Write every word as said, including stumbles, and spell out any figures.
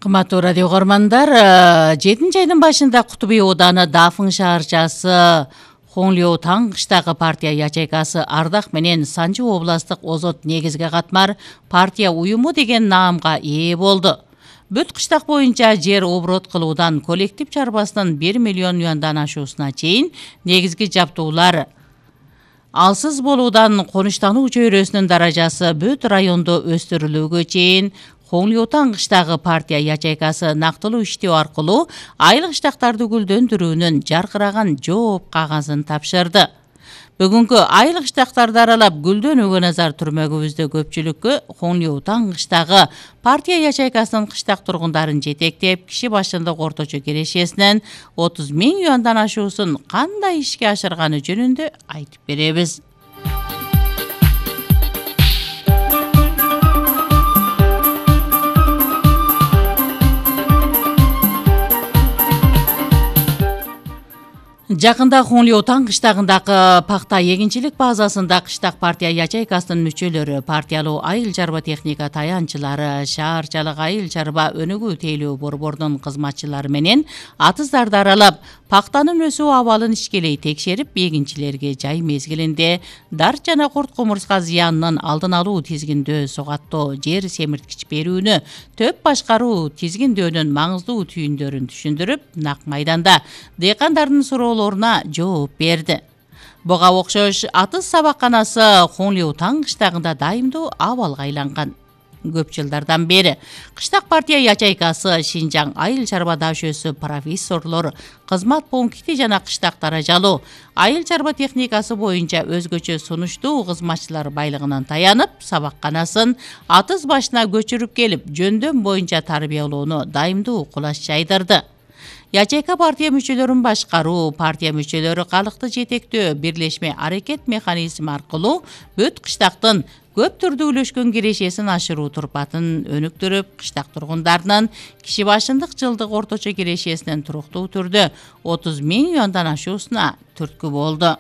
Кымбаттуу радио көрмандар, жетинчи айдын башында Кутуби ооданы Дафын шаарчасы Хонлиу Таңкыштагы партия ячейкасы Ардак менен Санжы областык Озот негизги катмар партия уюму деген наамга ээ болду. Бүт кыштак боюнча жер оборот кылуудан коллектив чарбасынын бир миллион юандан ашуусуна чейин негизги жаптуулар алсыз болуудан конуштануу чөйрөсүнүн даражасы бүт райондо өстүрүлүүгө чейин Хонлиу Таңкыштагы партия ячейкасы нактылуу иштөө аркылуу айлык штактарды гүлдөндүрүүнүн жаркыраган жооп кагазын тапшырды. Бүгүнкү айлык штактарды аралап гүлдөнүүгө назар түрмөгүбүздө көпчүлүккө Хонлиу Таңкыштагы партия ячейкасынын кыштак тургундарын жетектеп, киши башындык орточо кирешесинен отуз миң юандан ашуусун кандай ишке ашырганы жөнүндө айтып беребиз. Жакында Хонлиу Таңкыштагындагы пакта эгинчилик базасында кыштак партия ячейкасынын мүчөлөрү, партиялуу айыл чарба техника таянчылары, шаарчалык айыл чарба өнүгүү тейлөө борборунун кызматчылары менен атыздарды аралап, пактанын өсүү абалын ишкелей текшерип, эгинчилерге жай мезгилинде дарт жана курт кумурска зыянынын алдын алуу тизгиндөө сугаттоо, жер семирткич берүүнү, төп башкаруу тизгиндөөнүн маңыздуу түйүндөрүн түшүндүрүп, нак майданда дыйкандардын суроолоруна жооп берди. Буга окшош атыз сабакканасы Хонлиу Таңкыштагында дайымдуу абалга айланган. Көп жылдардан бери кыштак партия ячейкасы Шинжаң айыл чарба дашөөсү профессорлор, кызмат пункти жана кыштак даражалуу айыл чарба техникасы боюнча өзгөчө сунуштуу кызматчылар байлыгынан таянып, сабакканасын атыз башына көчүрүп келип, жөндөм боюнча тарбиялоону дайымдуу кулаш жайдырды. Ячейка партия мүчөлөрүн башкаруу, партия мүчөлөрү калыкты жетектөө, бирлешме аракет механизми аркылуу бүт кыштактын көп түрдүүлөшкөн кирешесин ашыруу турпатын өнүктүрүп, кыштак тургундарынын киши башындык жылдык орточо кирешесинин туруктуу түрдө отуз миң юандан ашуусуна түрткү болду.